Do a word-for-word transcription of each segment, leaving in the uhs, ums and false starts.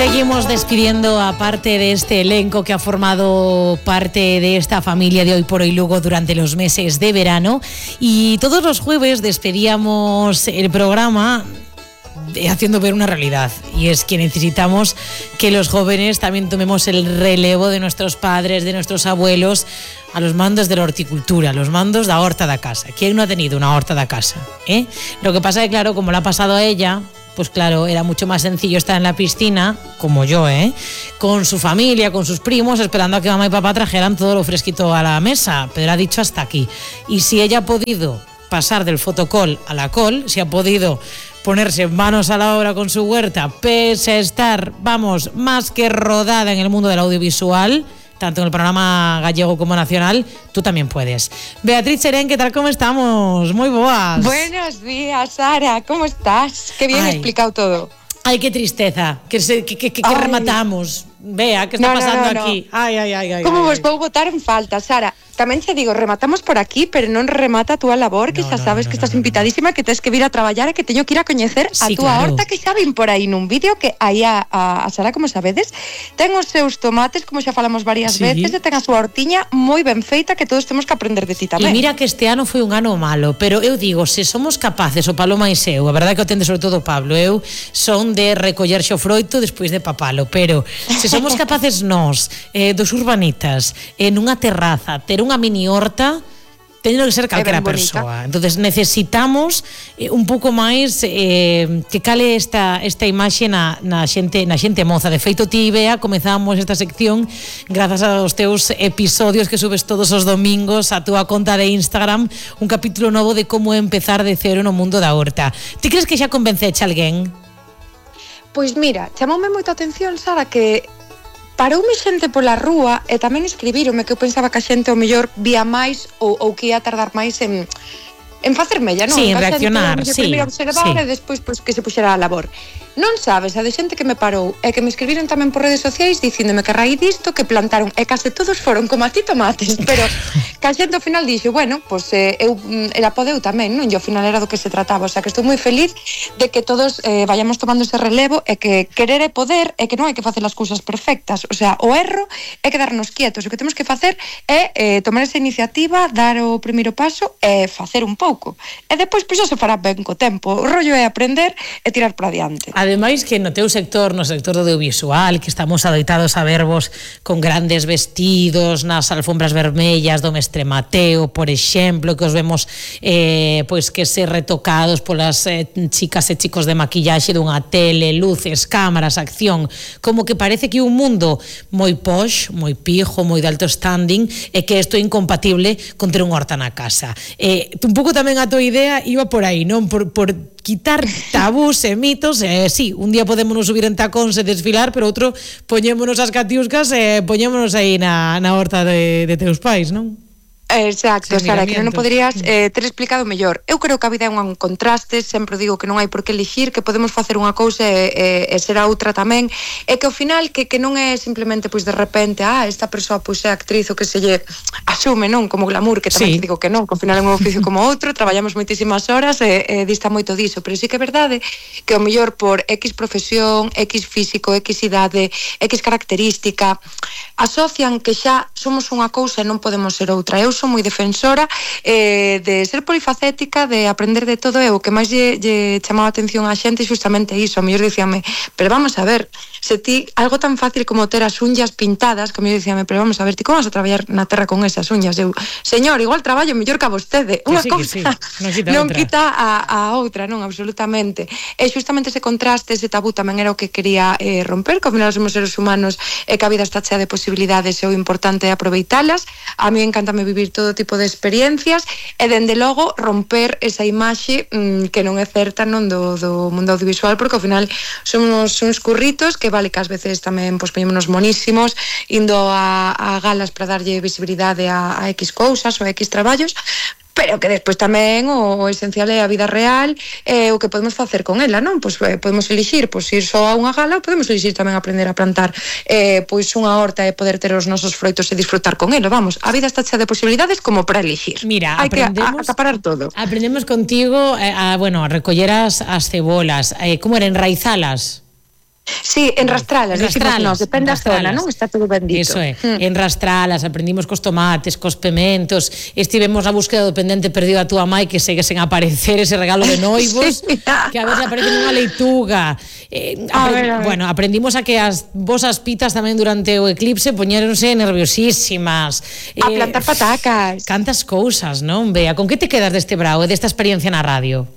Seguimos despidiendo a parte de este elenco que ha formado parte de esta familia de Hoy por Hoy Lugo durante los meses de verano, y todos los jueves despedíamos el programa haciendo ver una realidad, y es que necesitamos que los jóvenes también tomemos el relevo de nuestros padres, de nuestros abuelos, a los mandos de la horticultura, a los mandos da horta da casa. ¿Quién no ha tenido una horta da casa? ¿Eh? Lo que pasa es que, claro, como le ha pasado a ella, pues claro, era mucho más sencillo estar en la piscina, como yo, ¿eh? Con su familia, con sus primos, esperando a que mamá y papá trajeran todo lo fresquito a la mesa, pero ha dicho hasta aquí. Y si ella ha podido pasar del fotocall a la call, si ha podido ponerse manos a la obra con su huerta, pese a estar, vamos, más que rodada en el mundo del audiovisual, tanto en el panorama gallego como nacional, tú también puedes. Beatriz Cherén, ¿qué tal? ¿Cómo estamos? Muy boas. Buenos días, Sara, ¿cómo estás? Qué bien Ay. explicado todo. Ay, qué tristeza, que, se, que, que, que Ay. rematamos. Vea, ¿qué está No, no, pasando no, no. aquí? Ay, ay, ay, ay. Como ay, vos ay. vou botar en falta, Sara. Tamén te digo, rematamos por aquí, pero non remata a túa labor, que No, xa no, sabes no, que no, estás no, no. invitadísima, que tens que vir a traballar e que teño que ir a coñecer a Sí, túa claro. horta, que xa vin por aí nun vídeo que aí a, a, a Sara, como sabedes, ten os seus tomates, como xa falamos varias Sí. veces, e ten a súa hortiña moi ben feita, que todos temos que aprender de ti E tamén. mira que este ano foi un ano malo, pero eu digo, se somos capaces, o Paloma e eu, a verdade que o tende sobre todo o Pablo, eu son de recoller xo froito despois de papalo, pero se somos capaces nós, eh, dos urbanitas, en unha terraza, ter unha mini horta, teño que ser calquera É ben bonita. persoa. Entonces necesitamos eh, un pouco máis eh, que cale esta esta imaxe na, na xente na xente moza. De feito, ti, Bea, comezamos esta sección grazas aos teus episodios que subes todos os domingos a túa conta de Instagram, un capítulo novo de como empezar de cero no mundo da horta. Ti crees que xa convenceche alguén? Pois mira, chamoume moita atención, Sara, que paroume xente pola rúa e tamén escribíronme que eu pensaba que a xente ao mellor vía máis ou, ou que ia tardar máis en, en facermella, non? Sí, en Que a xente, reaccionar, ao mellor, sí, primeiro observar sí. e despois pois, que se puxera a labor. Non sabes, a de xente que me parou e que me escribiron tamén por redes sociais dicíndome que a raíz disto que plantaron e case todos foron como a ti tomates, pero que a xente ao final dixo, bueno, pois eh, eu era podeu tamén, non? E ao final era do que se trataba, o sea que estou moi feliz de que todos eh, vayamos tomando ese relevo e que querer é poder e que non hai que facer as cousas perfectas, o sea, o erro é quedarnos quietos, o que temos que facer é eh, tomar esa iniciativa, dar o primeiro paso e facer un pouco. E depois pois xa se fará ben co tempo. O rollo é aprender e tirar para diante. Ademais que no teu sector, no sector do audiovisual, que estamos adoitados a vervos con grandes vestidos nas alfombras vermellas do Mestre Mateo, por exemplo, que os vemos eh, pois que ser retocados polas eh, chicas e chicos de maquillaxe dunha tele, luces, cámaras, acción, como que parece que un mundo moi posh, moi pijo, moi de alto standing, e que isto é incompatible con ter unha horta na casa. Eh, un pouco tamén a tua idea iba por aí, non? Por, por quitar tabús e mitos, e eh, sí, un día podémonos subir en tacóns e desfilar, pero outro poñémonos as catiuscas e poñémonos aí na, na horta de, de teus pais, non? Exacto, Sen Sara, que non o miramientos. poderías eh, ter explicado mellor. Eu creo que a vida é un contraste, sempre digo que non hai por que elixir, que podemos facer unha cousa e, e, e ser a outra tamén, e que ao final que, que non é simplemente pois de repente, ah, esta persoa pois é actriz o que se lle asume, non, como glamour, que tamén Sí. te digo que non, que ao final é un oficio como outro, traballamos moitísimas horas e, e dista moito diso, pero sí que é verdade que ao mellor por X profesión, X físico, X idade, X característica, asocian que xa somos unha cousa e non podemos ser outra. Eu son moi defensora eh, de ser polifacética, de aprender de todo, e o que máis lle, lle chamaba a atención á xente justamente iso. A mellor dicíame, pero vamos a ver, se ti algo tan fácil como ter as uñas pintadas, que a mellor dicíame, pero vamos a ver, ti como vas a traballar na terra con esas uñas? Eu, señor, igual traballo mellor que a vostede. Que Unha sí, que cousa sí, non quita non outra. quita a, a outra, non, absolutamente. E justamente ese contraste, ese tabú tamén era o que quería eh, romper, que ao final somos seres humanos e que a vida está chea de posibilidades e o importante é aproveitalas. A mí encántame vivir todo tipo de experiencias e, dende logo, romper esa imaxe mmm, que non é certa, non, do, do mundo audiovisual, porque ao final somos uns curritos que vale que ás veces tamén pois, poñémonos monísimos indo a, a galas para darlle visibilidade a, a X cousas ou a X traballos, pero que despois tamén o esencial é a vida real e o que podemos facer con ela, non? Pois eh, podemos elixir pois, ir só a unha gala, ou podemos elixir tamén aprender a plantar eh, pois unha horta e poder ter os nosos froitos e disfrutar con elo. Vamos, a vida está chea de posibilidades como para elixir. Mira, hai que a, aprendemos, a, acaparar todo. Aprendemos contigo eh, a, bueno, a recoller as, as cebolas, eh, como era, enraizalas. Sí, enrastralas, enrastralas, depende da zona, non? Está todo bendito. Eso é, mm. enrastralas, aprendimos cos tomates, cos pementos, estivemos na búsqueda do pendente perdido a túa mai que segue sen aparecer ese regalo de noivos, sí. que a ver se aparece nunha leituga. Eh, a ver, a ver. Bueno, aprendimos a que as vosas pitas tamén durante o eclipse poñéronse nerviosísimas. A eh, plantar patacas. Cantas cousas, non, Bea? Con que te quedas deste brao e desta experiencia na radio?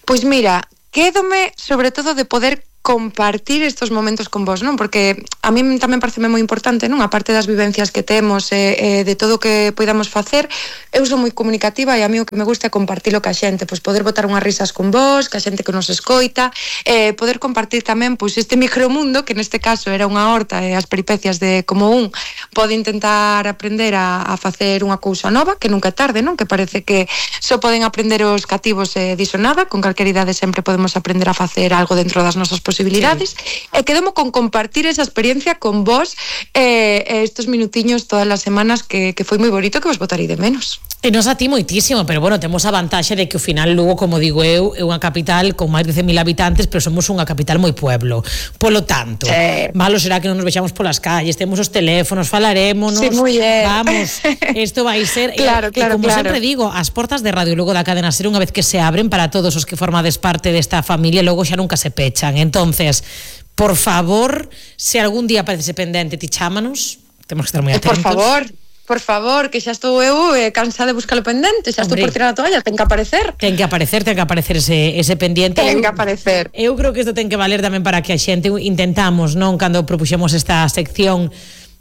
Pois mira, quédome sobre todo de poder compartir estos momentos con vos, non? Porque a mí tamén parece moi importante, non? A parte das vivencias que temos e eh, de todo o que podamos facer, eu sou moi comunicativa e a mí o que me gusta é compartilo ca xente, pois poder botar unhas risas con vos, ca xente que nos escoita, eh, poder compartir tamén pois este micromundo, que neste caso era unha horta e as peripecias de como un pode intentar aprender a, a facer unha cousa nova, que nunca é tarde, non? Que parece que só poden aprender os cativos e diso nada, con calquer idade sempre podemos aprender a facer algo dentro das nosas posibilidades, sí. E quedomo con compartir esa experiencia con vos eh, estos minutiños todas as semanas que, que foi moi bonito, que vos botarei de menos. E nos a ti moitísimo, pero bueno, temos a vantaxe de que ao final Lugo, como digo eu, é unha capital con máis de cen mil habitantes, pero somos unha capital moi pueblo. Polo tanto, sí. Malo será que non nos vexamos polas calles, temos os teléfonos, falarémonos, sí, vamos, isto vai ser claro, e, claro, e como claro. sempre digo, as portas de Radio Lugo da Cadena Ser, unha vez que se abren para todos os que formades parte desta familia, logo xa nunca se pechan. Entonces, por favor, se algún día parece pendente, ti chámanos, temos que estar moi atentos. Por favor, por favor, que xa estou eu eh, cansada de buscar o pendente, xa estou por tirar a toalla, ten que aparecer. Ten que aparecer, ten que aparecer ese, ese pendiente. Ten que aparecer. Eu, eu creo que isto ten que valer tamén para que a xente intentamos, non, cando propuxemos esta sección,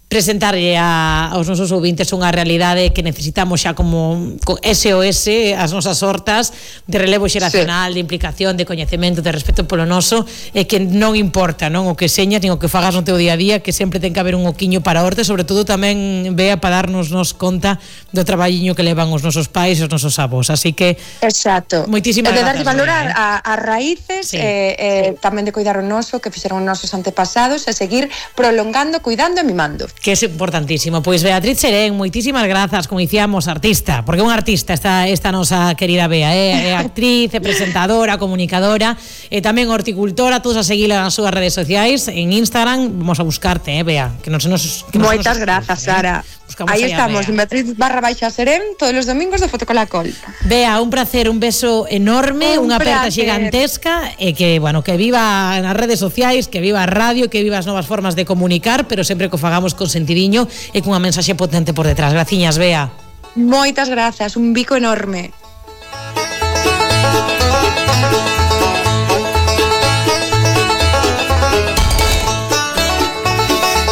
presentarlle a, aos nosos ouvintes unha realidade que necesitamos xa como S O S, as nosas hortas de relevo xeracional, sí. De implicación, de coñecemento, de respeto polo noso, e que non importa, non, o que señas nin o que fagas no teu día a día, que sempre ten que haber un oquiño para a horta, sobre todo tamén vea para darnos nos conta do traballiño que levan os nosos pais e os nosos avós, así que exacto, moitísimas de grazas, darlle valor eh? a, a raíces, sí. eh, eh, tamén de cuidar o noso que fixeron os nosos antepasados e seguir prolongando, cuidando e mimando, que é importantísimo. Pois Beatriz Serén, moitísimas grazas, como dicíamos, artista, porque é unha artista esta, esta nosa querida Bea, é, é actriz, é presentadora, comunicadora, e tamén horticultora, todos a seguila nas súas redes sociais, en Instagram, vamos a buscarte, eh, Bea, que non se nos... Que non moitas grazas, Sara. Eh? Aí estamos, en Beatriz barra baixa Serén, todos os domingos de Fotocolacol. Bea, un placer, un beso enorme, unha aperta gigantesca, e que, bueno, que viva nas redes sociais, que viva a radio, que viva as novas formas de comunicar, pero sempre que o fagamos con sentidinho e cunha mensaxe potente por detrás. Graciñas, Bea. Moitas grazas, un bico enorme.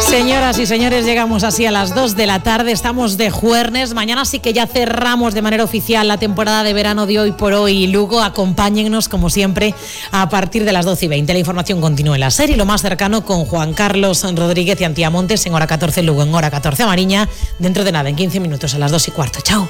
Señoras y señores, llegamos así a las dos de la tarde, estamos de jueves, mañana sí que ya cerramos de manera oficial la temporada de verano de Hoy por Hoy Lugo. Acompáñennos como siempre a partir de las doce y veinte, la información continúa en la serie, lo más cercano con Juan Carlos Rodríguez y Antía Montes en hora catorce Lugo, en hora catorce Mariña, dentro de nada, en quince minutos a las dos y cuarto. Chao.